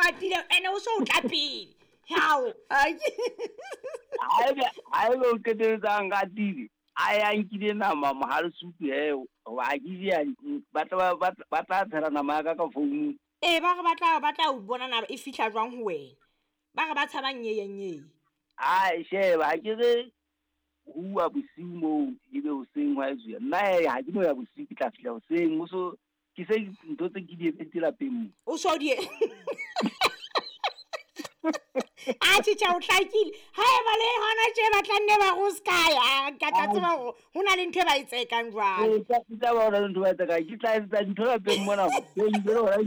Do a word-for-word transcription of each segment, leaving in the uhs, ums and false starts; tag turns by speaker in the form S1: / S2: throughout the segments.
S1: ratile ene o so o tla pele hao
S2: haebe haebe o qetelletse a nratile a ya nkile nama mohale sutu he hoba ha ke je ba tla ba tla tshela nama ya ka ka founu.
S1: Ee ba re ba tla ba tla o bona na e fihla jwang ho wena ba re ba tshaba nyeye nyeye.
S2: Ai sheba ha ke re hua bosiu moo ebe hoseng hwa etsuwa nna he ha ke no ya bosiu ke tla fihla hoseng o so ke se ntho tse ke di etsetse lapeng mo
S1: o so di a tjha o hlakile ha e ba le hona tje ba tla nne ba go ska ya ka tla tseba hore ho na le ntho e ba e tsekang jwale.
S2: Ee tla ba hona le ntho ba e tsekang ke tla etsa ntho lapeng mona teng jwale hona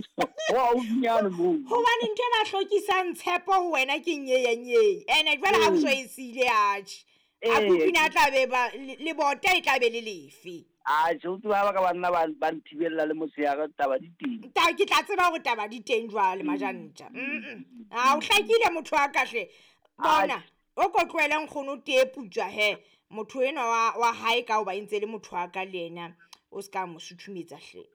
S2: ho haufinyane moo
S1: hobane ntho e ba hlokisang tshepo ho wena ke nyeye nyeye ene jwale ha o so e siile atjhe a kupina a tla be ba le bota e tla be le lefe.
S2: Atjhe o tseba ba ka banna ba ba nthibella le motshehare taba di teng.
S1: Ta ke tla tseba hore taba di teng jwale majantja. Mm. A o hlakile motho wa ka hle. Bona o ko tlohele nkgono tee putswa he motho enwa wa wa hae ka hoba e ntse le motho wa ka le yena o ska mo suthumetsa hle.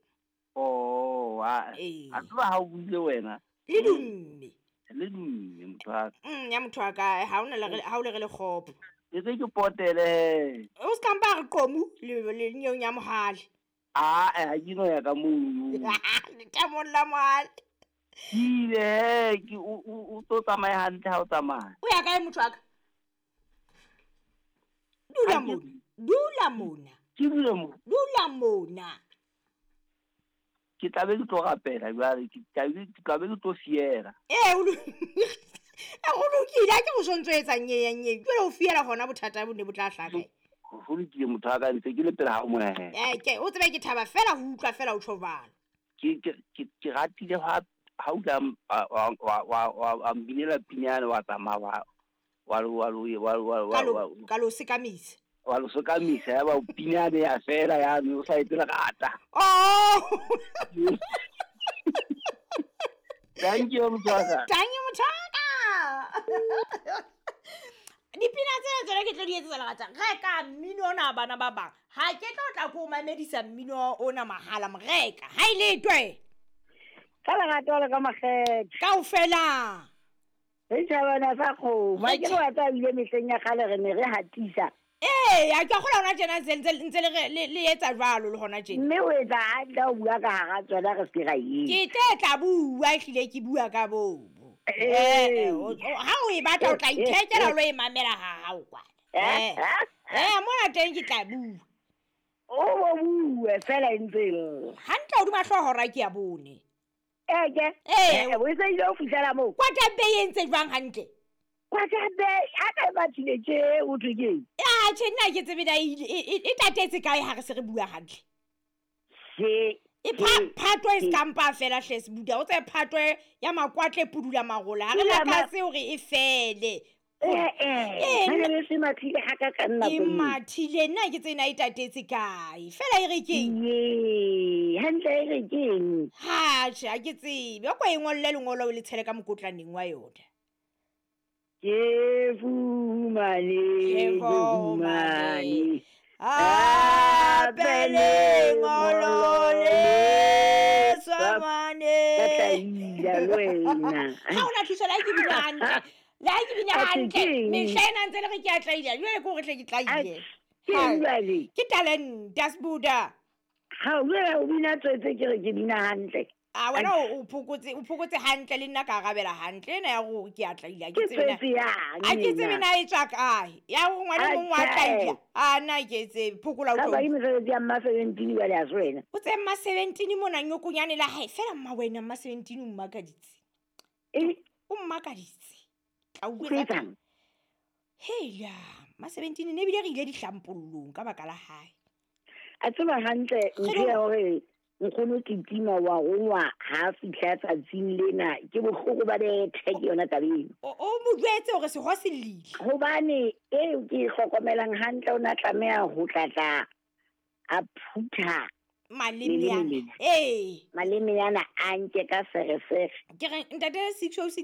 S2: Oh a a tseba ha o buile wena.
S1: Le dumme.
S2: Le dumme motho wa ka.
S1: Mm ya motho wa ka ha ona le ha o le re le kgopo.
S2: Ke se ke potele.
S1: O ska mpa re qomu le le nyong ya mohale.
S2: Ah eh ha ke no ya ka mono.
S1: Le tamong la mohale.
S2: Ile ke o o tlo tsamaya hantle ha o tsamaya.
S1: O ya kae motho wa ka? Dula mona. Dula mona.
S2: Ke dula mona.
S1: Dula mona.
S2: Ke tla be ke tlo rapela jwale ke tla be ke tla be ke tlo fiela.
S1: Eh o a go lokile a ke go sontso etsa nyeye nyeye jwale o fiela hona bothata bo ne bo tla hlaka.
S2: Go lokile motho wa ka ntse ke le pele ha o mona he.
S1: Eh ke o tsebe ke thaba fela ho utlwa fela o tjho jwalo.
S2: Ke ke ke ratile ha ha o tla wa wa wa mbinela pinyane wa tsamaya wa wa wa wa wa wa
S1: ka lo sekamisa.
S2: Wa lo sekamisa ya ba pinyane ya fela ya no sa etsela rata.
S1: Oh.
S2: Thank you motho wa ka.
S1: Thank you motho wa ka. Dipina tsena tsona ke tlo di etsetsa lerata. Reka mmino ona bana ba bang. Ha ke tlo tla ko mamedisa mmino ona mahala moreka. Ha ile twe.
S3: Ka lerato le ka makgethe.
S1: Kaofela.
S3: Re tjhabana sa kgomo. Ha ke re wa tsa bile mehleng ya kgale re ne re hatisa.
S1: Ee, a ke kgola hona tjena ntse ntse le le etsa jwalo le hona tjena.
S3: Mme o etsa hantle o bua ka hara tsona re se ra eng.
S1: Ke tle tla bua ehlile ke bua ka bobo. Eh ha o e batla o tla ithekela o lo e mamela ha hao kwana. Eh eh mona teng ke tla bua.
S3: O bo bue fela e ntse lla.
S1: Hantle hodima hlooho hora ke ya bone.
S3: Eh ke?
S1: Eh
S3: o se ile o fihlela moo.
S1: Kwata Bay e ntse jwang hantle?
S3: Kwata Bay ha ka e batlile tje o thwe keng?
S1: Ah tjhe nna ke tsebe na e tatetse kae ha re se re bua hantle.
S3: Se
S1: e phatwe e skampa fela hle sebuda o tse phatwe ya makwatle pudula marola ha re lakatse hore e fele.
S3: Eh eh ha re se mathile ha ka ka nna
S1: e mathile nna ke tsena e tatetse kae fela e re keng
S3: ye hantle e re keng
S1: ha tjhe ha ke tsebe o ko e ngolle lengolo o le tshele ka mokotlaneng wa yona.
S3: Ke fumane ke fumane
S1: a lengolo le tswamane
S3: ka tlaila le wena
S1: ha ona thuso la ke bina hantle la ke bina hantle mehla ena ntse le re ke a tlaila jwale ke hore hle ke tlaile
S3: ke jwale
S1: ke talent dasbuda
S3: ha o jwale o bina tswetse ke re ke bina hantle.
S1: A wena o phokotse o phokotse hantle le nna ka arabela hantle ena ya go ke a tlaila ke tsebe na a ke tsebe na e tswa kae ya go ngwana mong wa tlaila a na ke tsebe phokola o
S3: tlo ka ba imesebetsi ya mma seventeen jwale a se wena
S1: o tse mma seventeen mona nyokonyane la hae fela mma wena mma seventeen o mmakaditse
S3: e
S1: o mmakaditse tla o bua hela mma seventeen ne bile re ile dihlampollong ka baka la hae
S3: a tseba hantle ntho ya hore nkgono ke tima wa rongwa ha fihla tsatsing lena ke bohloko ba bethe ke yona tabeng
S1: o o mo jwetse hore seho se llile
S3: hobane eo ke e hlokomelang hantle o na tlameha ho tlatla a phutha
S1: maleme yana ee
S3: maleme yana a nke ka feresere
S1: ke re ntate six oh six